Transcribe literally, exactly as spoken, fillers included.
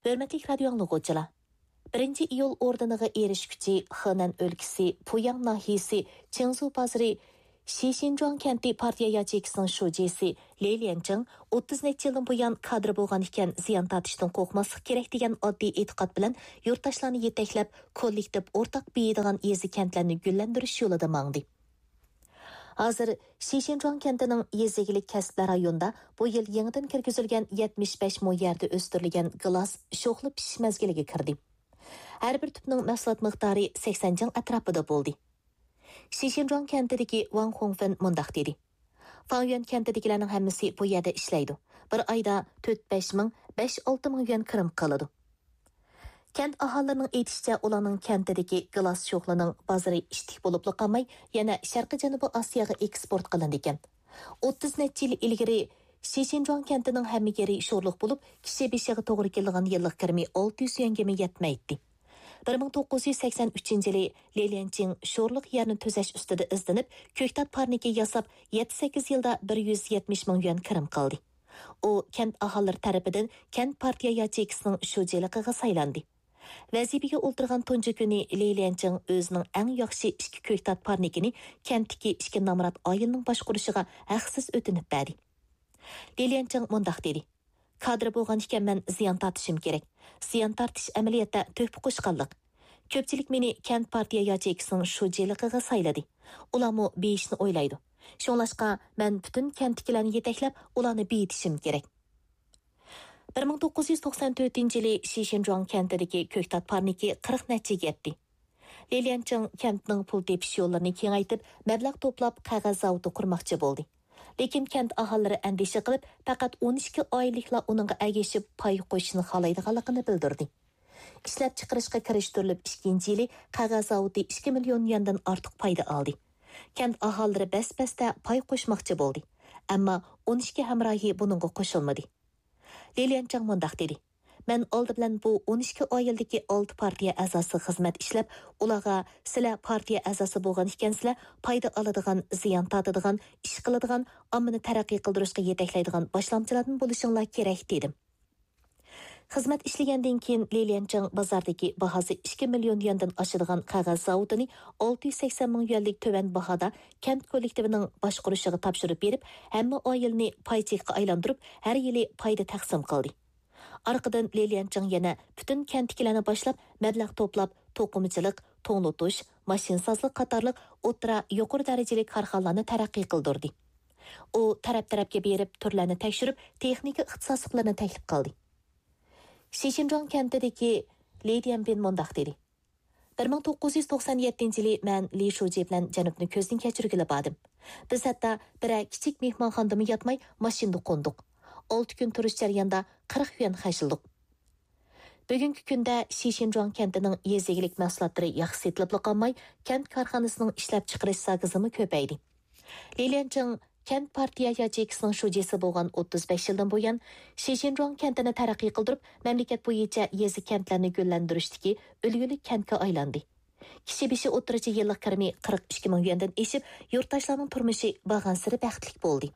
ھۆرمەتلىك رادىيو ئاڭلىغۇچىلار! بىرىنچى ئىيۇل ئوردېنىغا ئېرىشكۈچى خېنەن ئۆلكىسى پۇياڭ ناھىيەسى چىڭزۇ بازىرى شىشىنجۇاڭ كەنتى پارتىيە ياچېيكىسىنىڭ شۇجىسى لى ليەنچىڭ ئوتتۇز نەچچە يىلدىن بۇيان كادىر بولغان ئىكەن، زىيان تارتىشتىن قورقماسلىق كېرەك دېگەن ئاددىي ئېتىقاد بىلەن يۇرتداشلارنى يېتەكلەپ، كوللېكتىپ ئورتاق بېيىيدىغان يېزا-كەنتلەرنى گۈللەندۈرۈش يولىدا ماڭدى. ھازىر شىشىنجۇاڭ كەنتىنىڭ يېزا ئىگىلىك كەسىپلەر رايونىدا بۇ يىل يېڭىدىن كىرگۈزۈلگەن يەتمىش بەش مو يەردە ئۆستۈرۈلگەن گىلاس شوخلا پىشىش مەزگىلىگە كىردى. ھەر بىر تۈپنىڭ مەھسۇلات مىقدارى سەكسەن جىڭ ئەتراپىدا بولدى. شىشىنجۇاڭ كەنتىدىكى ۋاڭ خۇڭفېن مۇنداق دېدى: فاڭيۈەن كەنتىدىكىلەرنىڭ ھەممىسى بۇ يەردە ئىشلەيدۇ. بىر ئايدا تۆت بەش مىڭ، بەش ئالتە مىڭ يۈەن كىرىم قىلىدۇ. كەنت ئاھالىلىرىنىڭ ئېيتىشىچە، ئۇلارنىڭ كەنتىدىكى گىلاس شوخلىنىڭ بازىرى ئىتتىك بولۇپلا قالماي، يەنە شەرقىي جەنۇبىي ئاسىياغا ئېكسپورت قىلىنىدىكەن. ئوتتۇز نەچچە يىل ئىلگىرى شىشىنجۇاڭ كەنتىنىڭ ھەممە يېرى شورلۇق بولۇپ، كىشى بېشىغا توغرا كېلىدىغان يىللىق كىرىمى ئالتە يۈز يۈەنگىمۇ يەتمەيتتى. بىر مىڭ توققۇز يۈز سەكسەن ئۈچىنچى يىلى لى ليەنچىڭ شورلۇق يەرنى تۈزەش ئۈستىدە ئىزدىنىپ، كۆكتات پارنىكى ياساپ، يەتتە سەككىز يىلدا بىر يۈز يەتمىش مىڭ يۈەن كىرىم قىلدى. ئۇ كەنت ئاھالىلىرى تەرىپىدىن كەنت پارتىيە ياچېيكىسىنىڭ شۇجىلىقىغا سايلاندى. ۋەزىپىگە ئولتۇرغان تۇنجى كۈنى لى ليەنچىڭ ئۆزىنىڭ ئەڭ ياخشى ئىككى كۆكتات پارنىكىنى كەنتتىكى ئىككى نامرات ئائىلىنىڭ باشقۇرۇشىغا ھەقسىز ئۆتۈنۈپ بەردى. لى ليەنچىڭ مۇنداق دېدى: كادىر بولغان ئىكەنمەن، زىيان تارتىشىم كېرەك. زىيان تارتىش ئەمەلىيەتتە تۆھپە قوشقانلىق. كۆپچىلىك مېنى كەنت پارتىيە ياچېيكىسىنىڭ شۇجىلىقىغا سايلىدى. ئۇلارمۇ بېيىشنى ئويلايدۇ. شۇڭلاشقا مەن پۈتۈن كەنتتىكىلەرنى يېتەكلەپ، ئۇلارنى بېيىتىشىم كېرەك. بىر مىڭ توققۇز يۈز توقسەن تۆتىنچى يىلى شىشىنجۇاڭ كەنتىدىكى كۆكتات پارنىكى قىرىق نەچچىگە يەتتى. لى ليەنچىڭ كەنتنىڭ پۇل تېپىش يوللىرىنى كېڭەيتىپ، مەبلەغ توپلاپ، قەغەز زاۋۇتى قۇرماقچى بولدى. لېكىن كەنت ئاھالىلىرى ئەندىشە قىلىپ، پەقەت ئون ئىككى ئائىلىلىكلا ئۇنىڭغا ئەگىشىپ پاي قوشۇشنى خالايدىغانلىقىنى بىلدۈردى. ئىشلەپچىقىرىشقا كىرىشتۈرۈلۈپ ئىككىنچى يىلى قەغەز زاۋۇتى ئىككى مىليون يۈەندىن ئارتۇق پايدا ئالدى. كەنت ئاھالىلىرى بەس-بەستە پاي قوشماقچى بولدى، ئەمما ئون ئىككى ھەمراھى بۇنىڭغا قوشۇلمىدى. لى ليەنچىڭ مۇنداق دېدى: مەن ئالدى بىلەن بۇ ئون ئىككى ئائىلىدىكى ئالتە پارتىيە ئەزاسىغا خىزمەت ئىشلەپ، ئۇلارغا سىلەر پارتىيە ئەزاسى بولغان ئىكەنسىلەر، پايدا ئالىدىغان، زىيان تارتىدىغان، ئىش قىلىدىغان، ئاممىنى تەرەققىي قىلدۇرۇشقا يېتەكلەيدىغان باشلامچىلاردىن بولۇشۇڭلار كېرەك، دېدىم. خىزمەت ئىشلىگەندىن كېيىن، لى ليەنچىڭ بازاردىكى باھاسى ئىككى مىليون يۈەندىن ئاشىدىغان قەغەز زاۋۇتىنى ئالتە يۈز سەكسەن مىڭ يۈەنلىك تۆۋەن باھادا كەنت كوللېكتىپىنىڭ باشقۇرۇشىغا تاپشۇرۇپ بېرىپ، ھەممە ئائىلىنى پاي چېكىغا ئايلاندۇرۇپ، ھەر يىلى پايدا تەقسىم قىلدى. ئارقىدىن لى ليەنچىڭ يەنە پۈتۈن كەنتتىكىلەرنى باشلاپ، مەبلەغ توپلاپ، توقۇمىچىلىق، توڭلىتىش، ماشىنىسازلىق قاتارلىق ئوتتۇرا، يۇقىرى دەرىجىلىك كارخانىلارنى تەرەققىي قىلدۇردى. ئۇ تەرەپ-تەرەپكە بېرىپ، تۈرلەرنى تەكشۈرۈپ، تېخنىكا ئىختىساسلىقلىرىنى تەكلىپ قىلدى. شىشىنجۇاڭ كەنتىدىكى لى ديەنبىن مۇنداق دېدى: بىر مىڭ توققۇز يۈز توقسان يەتتىنچى يىلى مەن لى شۇجى بىلەن جەنۇبنى كۆزدىن كەچۈرگىلى باردىم. بىز ھەتتا بىرەر كىچىك مېھمانخانىدىمۇ ياتماي، ماشىنىدا قوندۇق. ئالتە كۈن تۇرۇش جەريانىدا قىرىق يۈەن خەجلىدۇق. بۈگۈنكى كۈندە شىشىنجۇاڭ كەنتىنىڭ يېزا ئىگىلىك مەھسۇلاتلىرى ياخشى سېتىلىپلا قالماي، كەنت كارخانىسىنىڭ ئىشلەپچىقىرىش زاكىزىمۇ كۆپەيدى. لى ليەنچىڭ كەنت پارتىيە ياچېيكىسىنىڭ شۇجىسى بولغان ئوتتۇز بەش يىلدىن بۇيان، شىشىنجۇاڭ كەنتىنى تەرەققىي قىلدۇرۇپ، مەملىكەت بويىچە يېزا-كەنتلەرنى گۈللەندۈرۈشتىكى ئۈلگىلىك كەنتكە ئايلاندى. كىشى بېشى ئوتتۇرىچە يىللىق كىرىمى قىرىق ئىككى مىڭ يۈەندىن ئېشىپ، يۇرتداشلارنىڭ تۇرمۇشى بارغانسېرى بەختلىك بولدى.